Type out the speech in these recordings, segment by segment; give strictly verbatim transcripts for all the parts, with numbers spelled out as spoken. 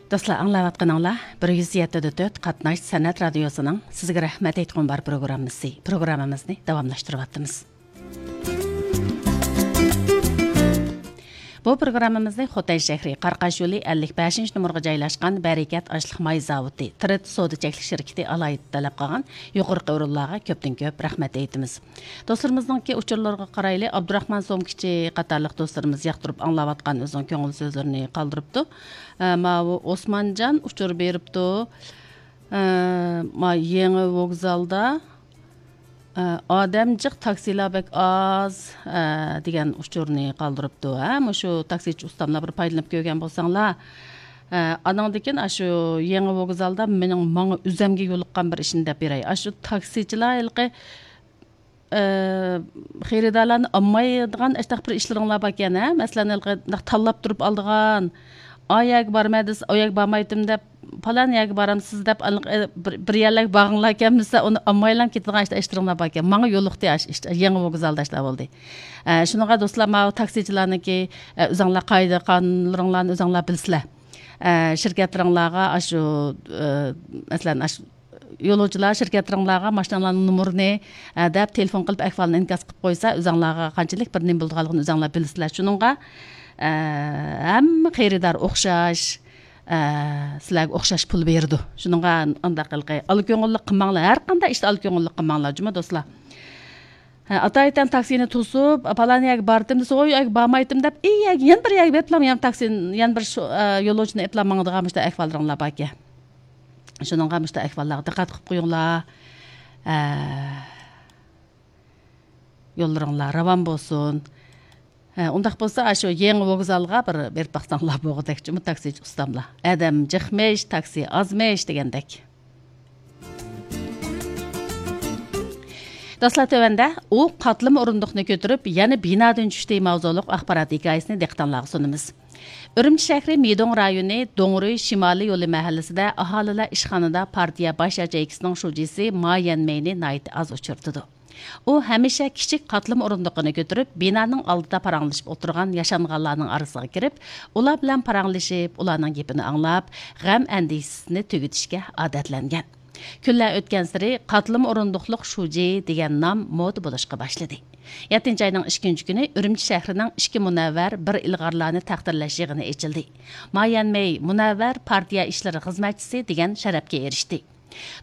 دوستلار، ئاڭلاۋاتقىنىڭلار بىر يۈز يەتتە دە تۆت قاتناش سەنئەت رادىيوسىنىڭ سىزگە رەھمەت ئېيتقۇم بار پروگراممىسى. پروگراممىمىزنى داۋاملاشتۇرۇۋاتىمىز. بۇ پروگراممىمىزنى خوتەن شەھىرى قاراقاش يولى ئەللىك بەشىنچى نومۇرغا جايلاشقان بەرىكەت ئاشلىق ماي زاۋۇتى، تىرىت سودا چەكلىك شىركىتى ئالاھىدە تەلەپ قىلغان يۇقىرىقى ئورۇنلارغا كۆپتىن كۆپ رەھمەت ئېيتىمىز. دوستلىرىمىزنىڭكى ئۇچۇرلىرىغا قارايلى. ئابدۇراخمان سومكىچى قاتارلىق دوستلىرىمىز ياقتۇرۇپ ئاڭلاۋاتقان ئۆزىنىڭ كۆڭۈل سۆزلىرىنى قالدۇرۇپتۇ. ئە، ماۋۇ ئوسمانجان ئۇچۇر بېرىپتۇ. ئە، ما يېڭى ۋوگزالدا، ئە، ئادەم جىق، تاكسىلار بەك ئاز، ئە، دېگەن ئۇچۇرنى قالدۇرۇپتۇ. ھە، مۇشۇ تاكسىچى ئۇستاملار بىر پايدىلىنىپ كۆرگەن بولساڭلار. ئە، ئانىڭدىن كېيىن ئاشۇ يېڭى ۋوگزالدا مېنىڭ ماڭا ئۆزەمگە يولۇققان بىر ئىشنى دەپ بېرەي. ئاشۇ تاكسىچىلار ھېلىقى ئى، خېرىدارلارنى ئالمايدىغان ئاشۇنداق بىر ئىشلىرىڭلار باركەن، ھە؟ مەسىلەن، ھېلىقى مۇنداق تاللاپ تۇرۇپ ئالىدىغان، ئا يەرگە بارىمەن دېسە، ئۇ يەرگە بارمايتتىم دەپ، پالان يەرگە بارامسىز دەپ، ھېلىقى بىر، بىر يەرلەرگە بارغۇڭلار كەلمىسە، ئۇنى ئالمايلا كېتىدىغان ئىش-، ئىشلىرىڭلار باركەن. ماڭا يولۇقتى ئاشۇ ئىش، يېڭى ۋوگزالدا ئاشۇنداق بولدى. ئە، شۇنىڭغا دوستلار، ماۋۇ تاكسىچىلارنىڭكى، ئە، ئۆزۈڭلار قائىدە-قانۇنلىرىڭلارنى ئۆزۈڭلار بىلىسىلەر. ئە، شىركەتلىرىڭلارغا ئاشۇ، ئە، مەسىلەن، ئاشۇ يولۇچىلار شىركەتلىرىڭلارغا ماشىنىلارنىڭ نومۇرىنى، ئە، دەپ تېلېفون قىلىپ ئەھۋالنى ئىنكاس قىلىپ قويسا، ئۆزۈڭلارغا قانچىلىك بىر نېمە بولىدىغانلىقىنى ئۆزۈڭلار بىلىسىلەر. شۇنىڭغا، ئە، ھەممە خېرىدار ئوخشاش، ئە، سىلەرگە ئوخشاش پۇل بېرىدۇ. شۇنىڭغا ئانداق قىلقى، ئالا كۆڭۈللۈك قىلماڭلار. ھەر قانداق ئىشتا ئالا كۆڭۈللۈك قىلماڭلار جۇمۇ دوستلار. ھە، ئاتايىتەن تاكسىنى توسۇپ، پالان يەرگە باردىم دېسە، ئۇ يەرگە بارمايتتىم دەپ، ئى يەرگە، يەنە بىر يەرگە بېرىپلا، يەنە تاكسى، يەنە بىر شۇ، ئە، يولۇچىنى ئېلىپلا ماڭىدىغان مۇشۇنداق ئەھۋاللىرىڭلار باركەن. شۇنىڭغا مۇشۇنداق ئەھۋاللارغا دىققەت قىلىپ قويۇڭلار. ئە، يوللىرىڭلار راۋان بولسۇن. ھە، ئۇنداق بولسا، ئاشۇ يېڭى ۋوگزالغا بىر بېرىپ باقساڭلار بولغۇدەك جۇمۇ تاكسىچى ئۇستاملار. ئادەم جىقمىش، تاكسى ئازمىش دېگەندەك. دوستلار، تۆۋەندە ئۇ قاتلىما ئورۇندۇقنى كۆتۈرۈپ، يەنە بىنادىن چۈشتى ماۋزۇلۇق ئاخبارات ھېكايىسىنى دىققىتىڭلارغا سۇنىمىز. ئۈرۈمچى شەھىرى مىدوڭ رايونى دوڭرۇي شىمالىي يولى مەھەللىسىدە ئاھالىلەر ئىشخانىدا پارتىيە باش ياچېيكىسىنىڭ شۇجىسى ما يەنمېينى ناھايىتى ئاز ئۇچرىتىدۇ. ئۇ ھەمىشە كىچىك قاتلىما ئورۇندۇقىنى كۆتۈرۈپ، بىنانىڭ ئالدىدا پاراڭلىشىپ ئولتۇرغان ياشانغانلارنىڭ ئارىسىغا كىرىپ، ئۇلار بىلەن پاراڭلىشىپ، ئۇلارنىڭ گېپىنى ئاڭلاپ، غەم ئەندىشىسىنى تۈگىتىشكە ئادەتلەنگەن. كۈنلەر ئۆتكەنسېرى قاتلىما ئورۇندۇقلۇق شۇجى دېگەن نام مودا بولۇشقا باشلىدى. يەتتىنچى ئاينىڭ ئىككىنچى كۈنى ئۈرۈمچى شەھىرىنىڭ ئىككى مۇنەۋۋەر، بىر ئىلغارلارنى تەقدىرلەش يىغىنى ئېچىلدى. ما يەنمېي مۇنەۋۋەر پارتىيە ئىشلىرى خىزمەتچىسى دېگەن شەرەپكە ئېرىشتى.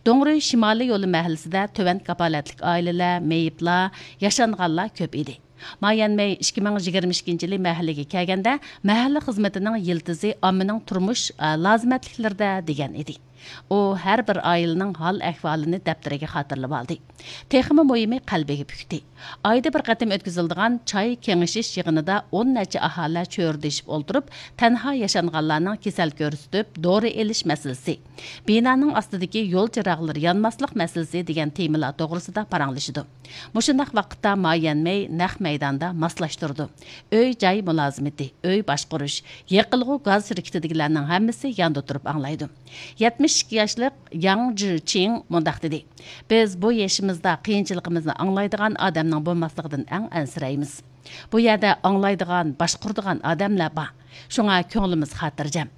دوڭرۇي شىمالىي يولى مەھەللىسىدە تۆۋەن كاپالەتلىك ئائىلىلەر، مېيىپلار، ياشانغانلار كۆپ ئىدى. ما يەنمەي ئىككى مىڭ يىگىرمە ئىككىنچى يىلى مەھەللىگە كەلگەندە، مەھەللە خىزمىتىنىڭ يىلتىزى ئاممىنىڭ تۇرمۇش، ئە، لازىمەتلىكلىرىدە دېگەن ئىدى. ئۇ ھەر بىر ئائىلىنىڭ ھال-ئەھۋالىنى دەپتىرىگە خاتىرىلىۋالدى. تېخىمۇ مۇھىمى، قەلبىگە پۈكتى. ئايدا بىر قېتىم ئۆتكۈزۈلىدىغان چاي كېڭىشىش يىغىنىدا ئون نەچچە ئاھالە چۆرىدىشىپ ئولتۇرۇپ، تەنھا ياشانغانلارنىڭ كېسەل كۆرسىتىپ، دورا ئېلىش مەسىلىسى، بىنانىڭ ئاستىدىكى يول چىراغلىرى يانماسلىق مەسىلىسى دېگەن تېمىلار توغرىسىدا پاراڭلىشىدۇ. مۇشۇنداق ۋاقىتتا ما يەنمەي نەق مەيداندا ماسلاشتۇرىدۇ. ئۆي-جاي مۇلازىمىتى، ئۆي باشقۇرۇش، يېقىلغۇ گاز شىركىتىدىكىلەرنىڭ ھەممىسى ياندا تۇرۇپ ئاڭلايدۇ. يەتمىش ئىككى ياشلىق ياڭ جىچىڭ مۇنداق دېدى: «بىز بۇ يېشىمىزدا قىيىنچىلىقىمىزنى ئاڭلايدىغان ئادەمنىڭ بولماسلىقىدىن ئەڭ ئەنسىرەيمىز. بۇ يەردە ئاڭلايدىغان، باشقۇرىدىغان ئادەملەر بار. شۇڭا كۆڭلىمىز خاتىرجەم.»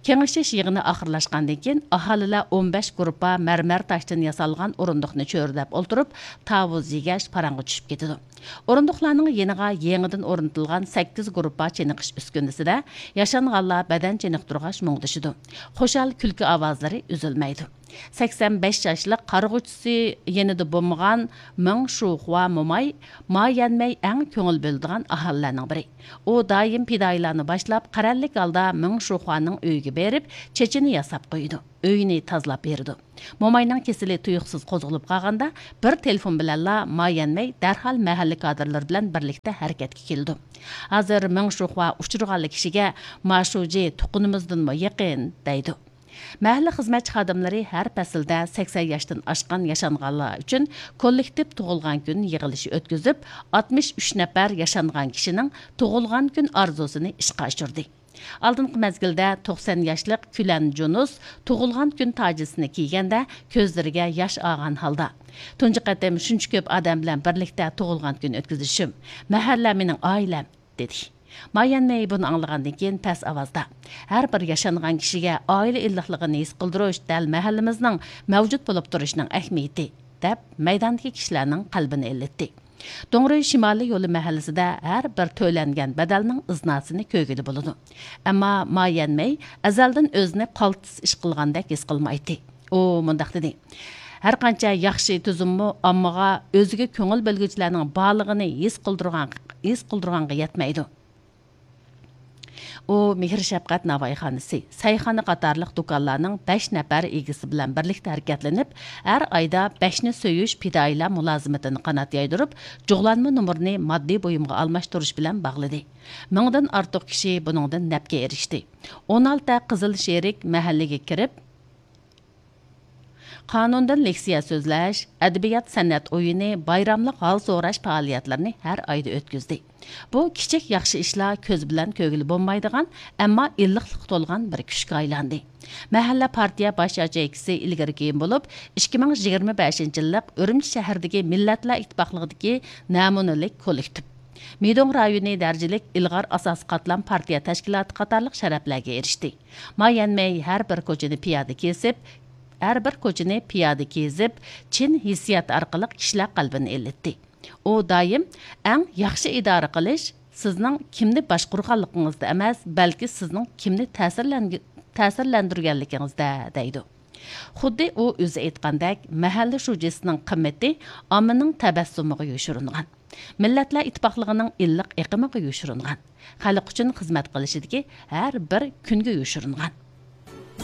كېڭىشىش يىغىنى ئاخىرلاشقاندىن كېيىن، ئاھالىلەر ئون بەش گۇرۇپپا مەرمەر تاشتىن ياسالغان ئورۇندۇقنى چۆرىدەپ ئولتۇرۇپ، تاۋۇز يېگەچ پاراڭغا چۈشۈپ كېتىدۇ. ئورۇندۇقلارنىڭ يېنىغا يېڭىدىن ئورنىتىلغان سەككىز گۇرۇپپا چېنىقىش ئۈسكۈنىسىدە ياشانغانلار بەدەن چېنىقتۇرغاچ مۇڭدىشىدۇ. خۇشال كۈلكە ئاۋازلىرى ئۈزۈلمەيدۇ. سەكسەن بەش ياشلىق قارىغۇچىسى يېنىدا بولمىغان مېڭ شۇخۇا موماي ما يەنمەي ئەڭ كۆڭۈل بۆلىدىغان ئاھالىلەرنىڭ بىرى. ئۇ دائىم پىدائىيلارنى باشلاپ، قەرەللىك ھالدا مېڭ شۇخۇانىڭ ئۆيىگە بېرىپ، چېچىنى ياساپ قويىدۇ، ئۆيىنى تازىلاپ بېرىدۇ. موماينىڭ كېسىلى تۇيۇقسىز قوزغىلىپ قالغاندا، بىر تېلېفون بىلەنلا ما يەنمەي دەرھال مەھەللە كادىرلىرى بىلەن بىرلىكتە ھەرىكەتكە كېلىدۇ. ھازىر مېڭ شۇخۇا ئۇچرىغانلا كىشىگە، ما شۇجى تۇغقىنىمىزدىنمۇ يېقىن، دەيدۇ. مەھەللە خىزمەتچى خادىملىرى ھەر پەسىلدە سەكسەن ياشتىن ئاشقان ياشانغانلار ئۈچۈن كوللېكتىپ تۇغۇلغان كۈن يىغىلىشى ئۆتكۈزۈپ، ئاتمىش ئۈچ نەپەر ياشانغان كىشىنىڭ تۇغۇلغان كۈن ئارزۇسىنى ئىشقا ئاشۇردى. ئالدىنقى مەزگىلدە توقسان ياشلىق كۈلەن جۇنۇس تۇغۇلغان كۈن تاجىسىنى كىيگەندە، كۆزلىرىگە ياش ئالغان ھالدا، «تۇنجى قېتىم شۇنچە كۆپ ئادەم بىلەن بىرلىكتە تۇغۇلغان كۈن ئۆتكۈزۈشۈم. مەھەللە مېنىڭ ئائىلەم.» دېدى. ما يەنمەي بۇنى ئاڭلىغاندىن كېيىن پەس ئاۋازدا، ھەر بىر ياشانغان كىشىگە ئائىلە ئىللىقلىقىنى ھېس قىلدۇرۇش دەل مەھەللىمىزنىڭ مەۋجۇت بولۇپ تۇرۇشىنىڭ ئەھمىيىتى، دەپ مەيداندىكى كىشىلەرنىڭ قەلبىنى ئىللىتتى. دوڭرۇي شىمالىي يولى مەھەللىسىدە ھەر بىر تۆلەنگەن بەدەلنىڭ ئىزناسىنى كۆرگىلى بولىدۇ. ئەمما ما يەنمەي ئەزەلدىن ئۆزىنى قالتىس ئىش قىلغاندەك ھېس قىلمايتتى. ئۇ مۇنداق دېدى: ھەرقانچە ياخشى تۈزۈممۇ ئاممىغا ئۆزىگە كۆڭۈل بۆلگۈچىلەرنىڭ بارلىقىنى ھېس قىلدۇرغان، ھېس قىلدۇرغانغا يەتمەيدۇ. ئۇ مېھىر شەپقەت ناۋايخانىسى، سەيخانا قاتارلىق دۇكانلارنىڭ بەش نەپەر ئىگىسى بىلەن بىرلىكتە ھەرىكەتلىنىپ، ھەر ئايدا بەشنى سۆيۈش پىدائىيلار مۇلازىمىتىنى قانات يايدۇرۇپ، جۇغلانما نومۇرىنى ماددىي بۇيۇمغا ئالماشتۇرۇش بىلەن باغلىدى. مىڭدىن ئارتۇق كىشى بۇنىڭدىن نەپكە ئېرىشتى. ئون ئالتە قىزىل شېرىك مەھەللىگە كىرىپ، قانۇندىن لېكسىيە سۆزلەش، ئەدەبىيات سەنئەت ئويۇنى، بايراملىق ھال سوراش پائالىيەتلىرىنى ھەر ئايدا ئۆتكۈزدى. بۇ كىچىك ياخشى ئىشلار كۆز بىلەن كۆرگىلى بولمايدىغان، ئەمما ئىللىقلىققا تولغان بىر كۈچكە ئايلاندى. مەھەللە پارتىيە باش ياچېيكىسى ئىلگىرى كېيىن بولۇپ، ئىككى مىڭ يىگىرمە بەشىنچى يىللىق ئۈرۈمچى شەھىرىدىكى مىللەتلەر ئىتتىپاقلىقىدىكى نەمۇنىلىك كوللېكتىپ، مىدوڭ رايونى دەرىجىلىك ئىلغار ئاساسىي قاتلام پارتىيە تەشكىلاتى قاتارلىق شەرەپلەرگە ئېرىشتى. ما يەنمەي ھەر بىر كوچىنى پىيادە كېسىپ، ھەر بىر كوچىنى پىيادە كېزىپ، چىن ھېسسىيات ئارقىلىق كىشىلەر قەلبىنى ئىللىتتى. ئۇ دائىم، ئەڭ ياخشى ئىدارە قىلىش سىزنىڭ كىمنى باشقۇرغانلىقىڭىزدا ئەمەس، بەلكى سىزنىڭ كىمنى تەسىرلەنگە-، تەسىرلەندۈرگەنلىكىڭىزدە، دەيدۇ. خۇددى ئۇ ئۆزى ئېيتقاندەك، مەھەللە شۇجىسىنىڭ قىممىتى ئاممىنىڭ تەبەسسۇمىغا يوشۇرۇنغان، مىللەتلەر ئىتتىپاقلىقىنىڭ ئىللىق ئېقىمىغا يوشۇرۇنغان، خەلق ئۈچۈن خىزمەت قىلىشىدىكى ھەر بىر كۈنگە يوشۇرۇنغان.